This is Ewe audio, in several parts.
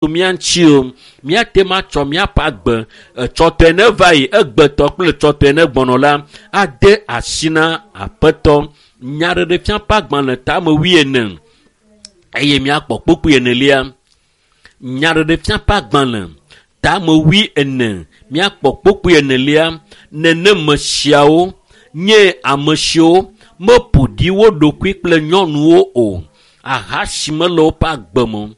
mía ŋuti o. Míate ŋu atsɔ míaƒe agbe etsɔtɔe ne va yi egbetɔ kple tsɔtɔe ne gbɔnɔ la ade asi na Aƒetɔ. Nyaɖeɖefia ƒe agbalẽ tame wuiene eye míakpɔ kpukpui enelia. Nyaɖeɖefia ƒe agbalẽ tame wuiene míakpɔ kpukpui enelia. Neneme siawo nye ame siwo meƒo ɖi wo ɖokui kple nyɔnuwo o. Ahasi mele woƒe agbe me o.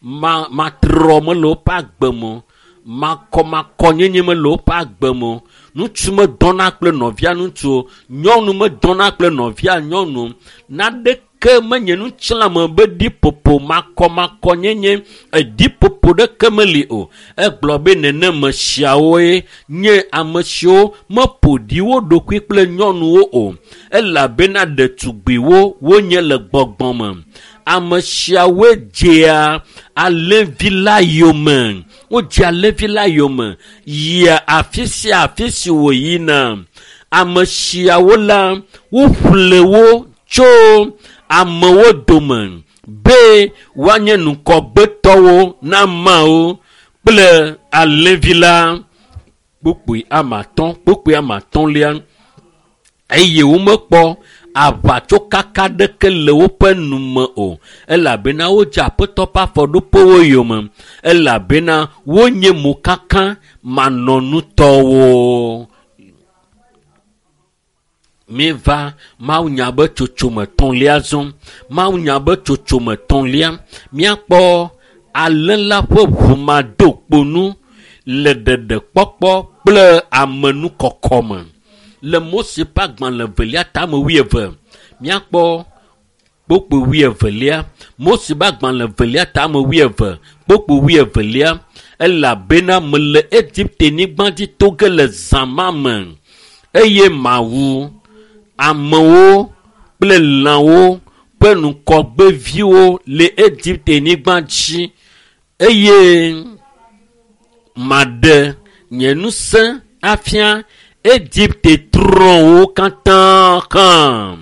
Ma matrɔ mele woƒe agbe me o. Makɔmakɔnyenye mele woƒe agbe me o. Ŋutsu medɔna kple nɔvia ŋutsu o. Nyɔnu medɔna kple nɔvia nyɔnu o. Naneke menye ŋutilãme be ɖiƒoƒo makɔmakɔnyenye eɖiƒoƒo ɖeke meli o. Egblɔ be neneme siawoe nye ame siwo meƒo ɖi wo ɖokui kple nyɔnuwo o elabena ɖetugbiwo wonye le gbɔgbɔ me. Ame siawoe dzea alẽvi la yome. Wodzea alẽvi la yome yia afi sia afi si wòyina. Ame siawo la, woƒle wo tso amewo dome be woanye ŋgɔgbetɔwo na Mawu kple alẽvi la. Kpukpui ame atɔ̃, kpukpui ame atɔ̃lia eye womekpɔ aʋatsokaka ɖeke le woƒe nu me o elabena wodze Aƒetɔ ƒe afɔɖoƒewo yome elabena wonye mokaka manɔnutɔwo. Míeva mawunya be tsotsome etɔ̃lia zɔm. Mawunya be tsotsome etɔ̃lia, míakpɔ alẽ la ƒe ʋumadokponu le ɖeɖekpɔkpɔ kple amenukɔkɔ me. Le Mose ƒe agbalẽ evelia tame wuieve, míakpɔ kpukpui wuievelia. Mose ƒe agbalẽ evelia tame wuieve, kpukpui wuievelia. Elabena mele Egipte-nyigba dzi to ge le zã ma me eye mawu amewo kple lãwo ƒe ŋgɔgbeviwo le Egipte-nyigba dzi eye maɖe nye ŋusẽ afia Egipte trɔ̃wo katã hã.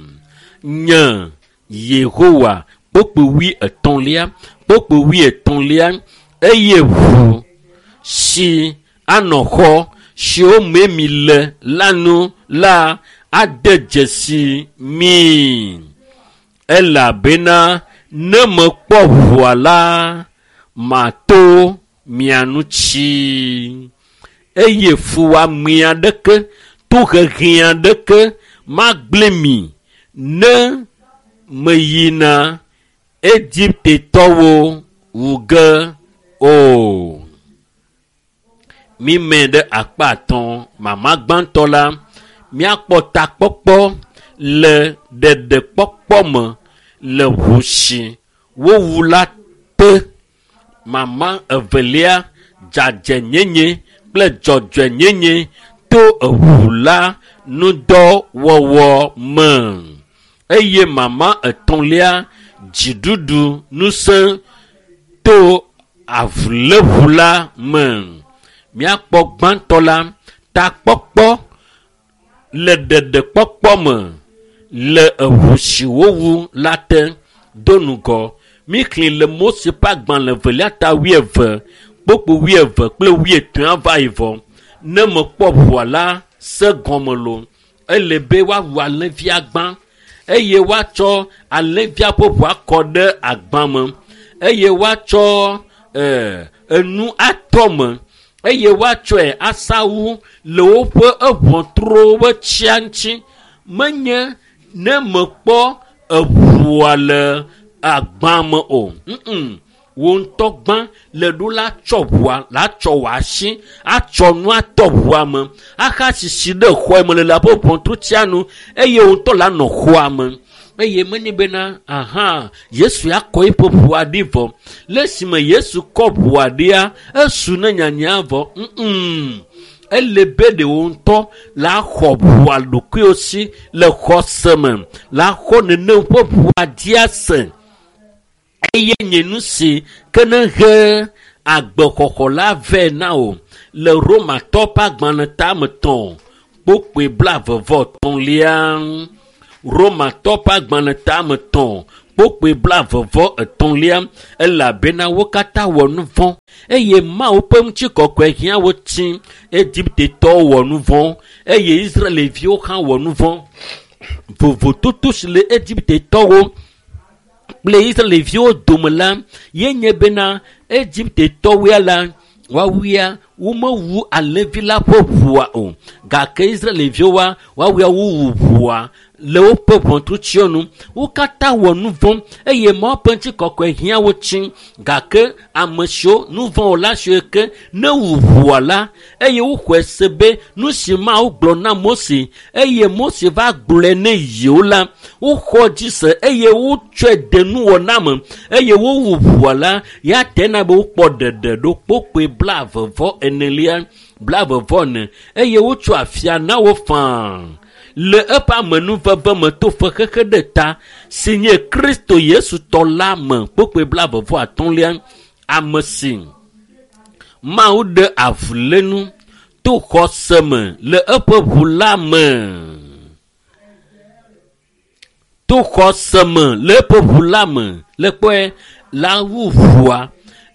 Nye Yehowa kpukpui wuietɔ̃lia, kpukpui wuietɔ̃lia eye ʋu si anɔ xɔ siwo me mi le la nu la ade dzesi mi elabena ne mekpɔ ʋua la, mato mia ŋuti eye fuwɔame aɖeke, tohehe aɖeke magblẽ mi ne meyina Egiptetɔwo wu ge o. Mímɛ ɖe akpa atɔ̃. Mama gbãtɔ la, míakpɔ takpɔkpɔ le ɖeɖekpɔkpɔ me le ʋu si wowu la te. Mama evelia, dzadzɛnyenye kple dzɔdzɔenyenye to eʋu la ŋudɔwɔwɔ me. Eye mama etɔ̃lia, dziɖuɖu ŋusẽ to avuléʋu la me. Míakpɔ gbãtɔ la, takpɔkpɔ le ɖeɖekpɔkpɔ me le eʋu si wowu la te do ŋgɔ. Míxlẽ le Mose ƒe agbalẽ evelia ta wuieve, kpukpui wuieve kple wuietɔ̃a va yi vɔ. Ne mekpɔ ʋua la se gɔme lo, ele be woawu alẽvia gbã eye woatsɔ alẽvia ƒe ʋua kɔ ɖe agba me eye woatsɔ ee, enu atɔ me eye woatsɔe asawu le woƒe eʋɔtruwo ƒe tsia ŋuti. Menye ne mekpɔ eʋua le agba me o. Mm-mm. Wò ŋutɔ gbã le ɖo la tsɔ ʋua la tsɔ wò asi atsɔ nu atɔ ʋua me axa sisi ɖe xɔa me le la ƒe ʋɔtrutia nu eye wò ŋutɔ la nɔ xɔa me. Eye menye bena aha Yesu akɔ eƒe ʋua ɖi vɔ. Le esime Yesu kɔ ʋua ɖia, esu ne nyanya vɔ. Mm-mm. Ele be ɖe wò ŋutɔ la xɔ ʋua ɖokuiwò si le xɔse me. La xɔ nenem ƒe ʋua dzia se. Eye nye nu si ke ne he agbexɔxɔ la vɛ na wò le Romatɔ ƒe agbalẽ tame tɔ̃ kpukpui blaeve vɔ etɔ̃lia. Romatɔ ƒe agbalẽ tame tɔ̃ Kpokpoe 33 elabena wo katã wɔ nu vɔ̃ eye Mawu ƒe ŋutikɔkɔe hiã wo tsi. Egiptetɔwo wɔ nu vɔ̃ eye Israelviwo hã wɔ nu vɔ̃. Vovototo si le Egiptetɔwo kple Israelviwo dome la ye nye bena Egiptetɔwoe la woawuia womewu alẽvi la ƒe ʋua o, gake Israelviwoa woawuia wowu ʋua le woƒe ʋɔtrutsiwo nu. Wo katã wɔ nu vɔ̃ eye Mawu ƒe ŋutikɔkɔe hiã wo tsi, gake ame siwo nu vɔ̃ wɔla siwo ke ne wu ʋua la eye woxɔe se be nu si Mawu gblɔ na Mose eye Mose va gblɔe ne yewo la, woxɔ dzi se eye wotsɔe de nuwɔna me eye wowu ʋua la, ya tena be wokpɔ ɖeɖe ɖo. Kpokpoe 44 44 eye wotsɔ afia na wo faa le eƒe amenuveve me to fexexe ɖe ta si nye Kristo Yesu tɔ la me. Kpokpoe 33 ame si Mawu ɖe avulénu to xɔse me le eƒe ʋu la me. To xɔse me le eƒe ʋu la me. Le kpɔe la wu ʋua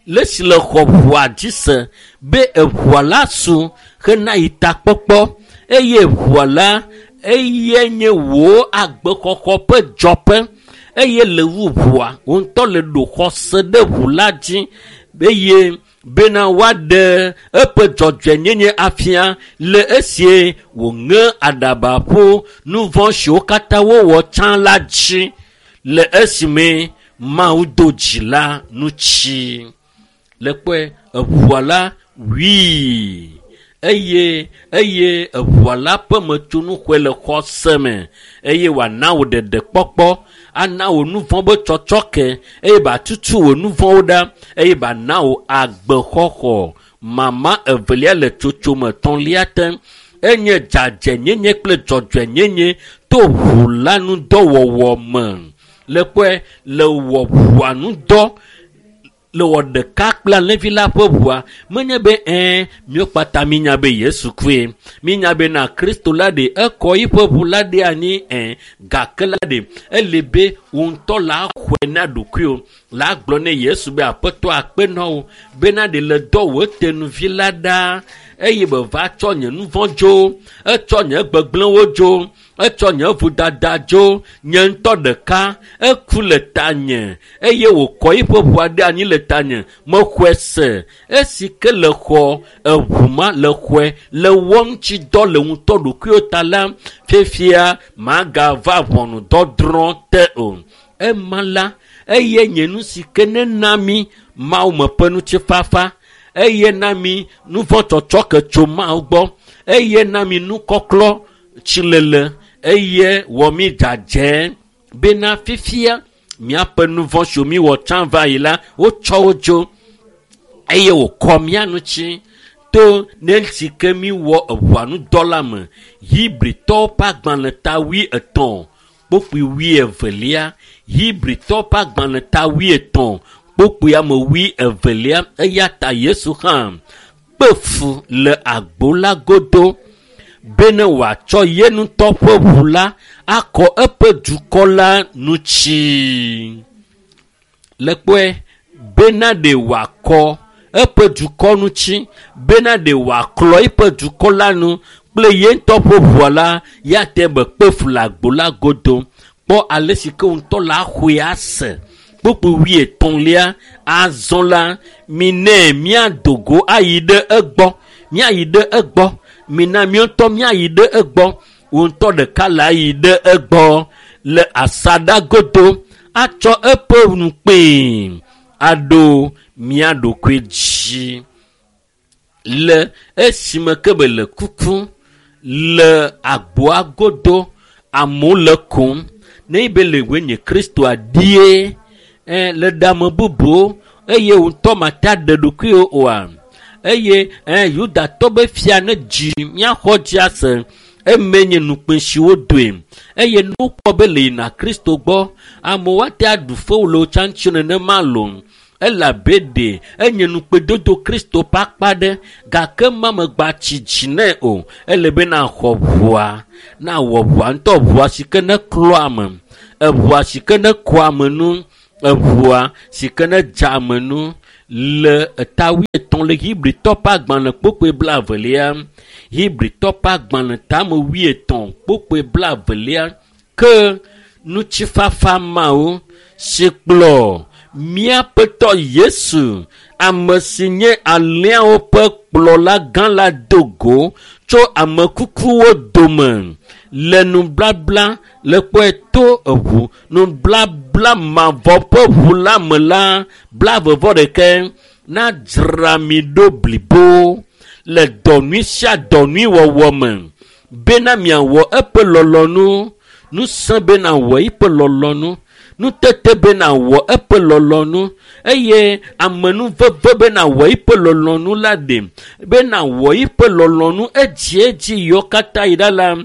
le si le xɔ ʋua dzi se be eʋua la su hena yi takpɔkpɔ eye ʋua la eye nye wò agbexɔxɔ ƒe dzɔƒe eye le wu ʋua wò ŋutɔ le ɖo xɔse ɖe ʋu la dzi eye bena woaɖe eƒe dzɔdzɔenyenye afia le esie wòŋe aɖaba ƒo nu vɔ̃ siwo katã wowɔ tsã la dzi le esime Mawu do dzi la ŋuti. Le kpɔe eʋua la wui eye eʋua la ƒe metsonu xɔe le xɔse me eye wòana wò ɖeɖekpɔkpɔ, ana wò nu vɔ̃ be tsɔtsɔke eye batutu wò nu vɔ̃wo ɖa eye bana wò agbexɔxɔ. Mama evelia le tsotsome etɔ̃lia te enye dzadzɛnyenye kple dzɔdzɔenyenye to ʋu la ŋudɔwɔwɔ me. Le kpɔe le wɔ ʋua ŋudɔ le wɔ ɖeka kple alẽvi la ƒe ʋua menye be míwo kpata mínya be Yesu kue, mínya bena Kristo la ɖe ekɔ yiƒe ʋu la ɖe anyi gake la ɖe ele be wò ŋutɔ la xɔe na ɖokuiwò la gblɔ ne Yesu be aƒetɔ akpe na wò bena ɖe le dɔ wò tenuvi la ɖa eye be va tsɔ nye nu vɔ̃ dzo, etsɔ nye gbegblẽwo dzo, etsɔ nye vodada dzo, nye ŋutɔ ɖeka eku le tanye eye wòkɔ yiƒe ʋua ɖe anyi le tanye mexɔe se. Esi ke le xɔ eʋu ma le xɔe le wɔ ŋuti dɔ le ŋutɔ ɖokuiwo ta la, fifia magava ʋɔnudɔdrɔ̃ te o. Ema la eye nye nu si ke nena mi Mawu me ƒe ŋutifafa, eye na mi nu vɔ̃ tsɔtsɔ ke tso Mawu gbɔ, eye na mi nukɔklɔ tsilele eye wɔ mi dzadzɛ bena fifia miaƒe nu vɔ̃ siwo mi wɔ tsã va yi la wotsɔ wo dzo eye wòkɔ mía ŋuti to ne si ke mi wɔ eʋua ŋudɔ la me. Hebritɔwo ƒe agbalẽ ta 83 kpokpui 22. Hebritɔwo ƒe agbalẽ ta 83 kpokpui ame 22. Eya ta Yesu hã kpe fu le agbo la godo bene wòatsɔ ye ŋutɔ ƒe ʋu la akɔ eƒe dukɔ la ŋuti. Le kpɔe bena ɖe wòakɔ eƒe dukɔ ŋuti, bena ɖe wòaklɔ eƒe dukɔ la nu kple ye ŋutɔ ƒe ʋua la, ya te be kpe fu le agbo la godo. Kpɔ ale si ke ŋutɔ la xɔe ase. Kpokpui 33 azɔ la minɛ míado go ayi ɖe egbɔ, míayi ɖe egbɔ, mina míaŋutɔ míayi ɖe egbɔ, wò ŋutɔ ɖeka la yi ɖe egbɔ le asaɖa godo atsɔ eƒe nukpee aɖo mía ɖokui dzi. Le esime ke be le kuku le agboa godo, amewo le kom ne be le woe nye Kristoa die le ɖe bubuwo eye wò ŋutɔ mate aɖe ɖokuiwò oa. Eye Yudatɔ be fia ne dzi míaxɔ dzi ase eme nye nukpe si wodoe eye ne wokpɔ be le yina Kristo gbɔ amewo ate aɖu fewu le wo tsã ŋuti nenema loo elabe ɖe enye nukpedodo Kristo ƒe akpa ɖe gake ma megba tsi dzi nɛ o. Ele be naxɔ ʋua, nawɔ ʋua ŋutɔ ʋua si ke ne klɔ ame. Eʋua si ke ne kɔa ame nu, eʋua si ke ne dza ame nu le eta wuietɔ̃ le Hebritɔ ƒe agbalẽ kpokpoe blaevelia. Hebritɔ ƒe agbalẽ tame wuietɔ̃ kpokpoe blaevelia ke ŋutifafa Mawu si kplɔ míaƒetɔ Yesu, ame si nye alẽawo ƒe kplɔla gã la do go tso ame kukuwo dome le nublabla le kpɔe to eʋu nublabla mavɔ ƒe ʋu la me la 11 nadzra mi ɖo blibo le dɔ nyui sia dɔ nyui wɔwɔ me bena miawɔ eƒe lɔlɔ̃nu, ŋusẽ bena wɔ eƒe lɔlɔ̃nu, nutete bena wɔ eƒe lɔlɔ̃nu eye amenuveve bena wɔ eƒe lɔlɔ̃nu la ɖe bena wɔ eƒe lɔlɔ̃nu edziedzi yiwo katã yi ɖa la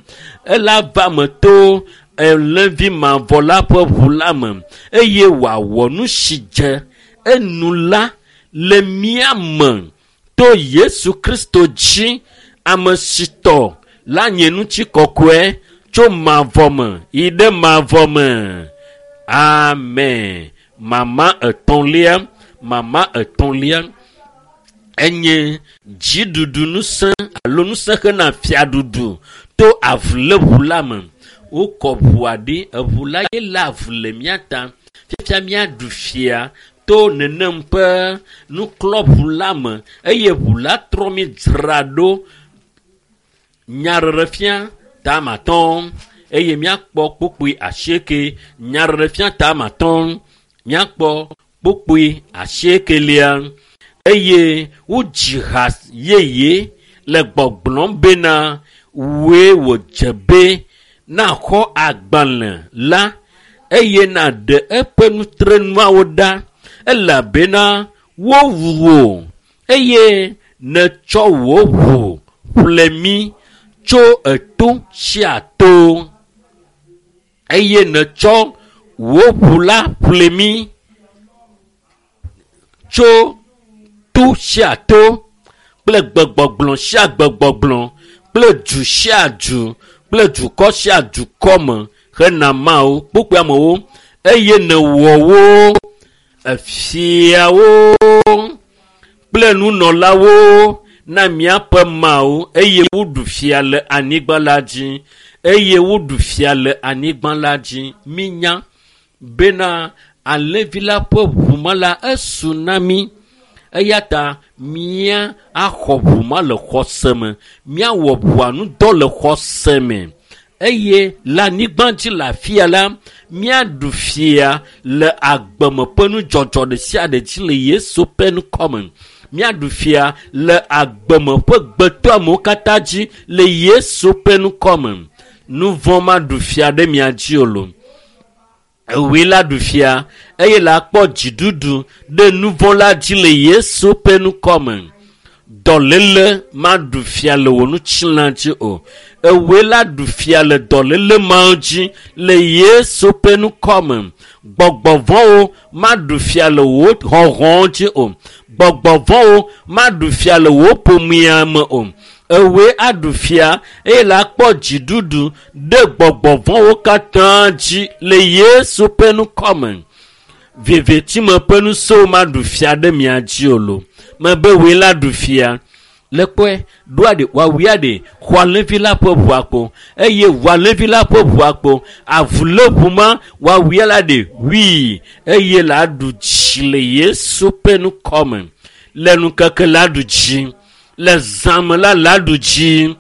ela va me to alẽvi mavɔ la ƒe ʋu la me eye wòawɔ nu si dze enu la le mía me to Yesu Kristo dzi, ame si tɔ la nye ŋutikɔkɔe tso mavɔ me yi ɖe mavɔ me. Amen. Mama etɔ̃lia enye dziɖuɖu ŋusẽ alo ŋusẽ hena fiaɖuɖu to avuléʋu la me. Wokɔ ʋua ɖi, eʋu la ye le avu le mía ta. Fifia míaɖu fia to nenem ƒe nuklɔʋu la me eye ʋu la trɔ mí dzra ɖo nyaɖeɖefia tame atɔ̃ eye míakpɔ kpukpui asieke. Nyaɖeɖefia tame atɔ̃ míakpɔ kpukpui asiekelia eye wodzi ha yeye le gbɔgblɔm bena wòe wòdze be naxɔ agbalẽ la eye naɖe eƒe nutrenuawo ɖa elabena wowu wò eye nètsɔ wò ʋu ƒle mí tso eto sia to eye nètsɔ wò ʋu la ƒle mí tso to sia to kple gbegbɔgblɔ sia gbegbɔgblɔ kple du sia du kple dukɔ sia dukɔ me hena Mawu kpukpui amewo eye nèwɔ wo efiawo kple nunɔlawo na míaƒe Mawu eye woɖu fia le anyigba la dzi eye woɖu fia le anyigba la dzi. Mínya bena alẽvi la ƒe ʋu ma la esu na mí eya ta mía axɔ ʋu ma le xɔse me, míawɔ ʋua ŋudɔ le xɔse me eye le anyigba dzi le afia la míaɖu fia le agbeme ƒe nudzɔdzɔ ɖe sia ɖe dzi le Yesu ƒe ŋkɔ me. Míaɖu fia le agbeme ƒe gbetɔamewo katã dzi le Yesu ƒe ŋkɔ me. Nu vɔ̃ maɖu fia ɖe mia dzi o lo. Ewoe la ɖu fia eye la kpɔ dziɖuɖu ɖe nu vɔ̃ la dzi le Yesu ƒe ŋkɔ me. Dɔléle maɖu fia le wò ŋutilã dzi o. Ewoe la ɖu fia le dɔléle mawo dzi le Yesu ƒe ŋkɔ me. Gbɔgbɔ vɔ̃wo maɖu fia le wò hɔhɔ̃wo dzi o. Gbɔgbɔ vɔ̃wo maɖu fia le wò ƒomea me o. Ewoe aɖu fia eye la kpɔ dziɖuɖu ɖe gbɔgbɔ vɔ̃wo katã dzi le Yesu ƒe ŋkɔ me. Vevitime ƒe ŋusẽwo maɖu fia ɖe mia dzi o lo. Mebe woe la ɖu fia. Le kpɔe ɖoa ɖe woawia ɖe xɔ alẽvi la ƒe ʋua kpo eye ʋu alẽvi la ƒe ʋua kpo avuléʋu ma woawia la ɖe wui eye la ɖu dzi le Yesu ƒe ŋkɔ me. Le ŋkeke la ɖu dzi, le zãme la la ɖu dzi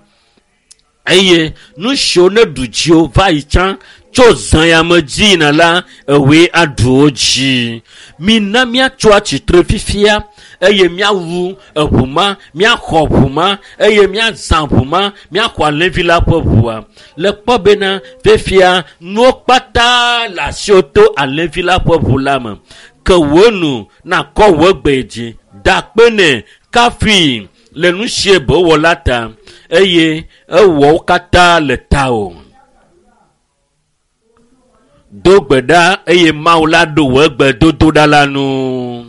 eye nu siwo ne ɖu dziwo va yi tsã tso zã ya me dzi yina la ewoe aɖu wo dzi. Mina míatso atsitre fifia eye míawu eʋu ma, míaxɔ ʋu ma eye míazã ʋu ma, míaxɔ alẽvi la ƒe ʋua. Le kpɔ bena fifia nuwo kpata le asiwò to alẽvi la ƒe ʋu la me. Ke wò nu nakɔ wò gbe dzi, da akpe nɛ, kafui le nu sie be wɔ la ta eye ewɔ wo katã le tawò. Do gbe ɖa eye Mawu la ɖo wò gbedodoɖa la nu.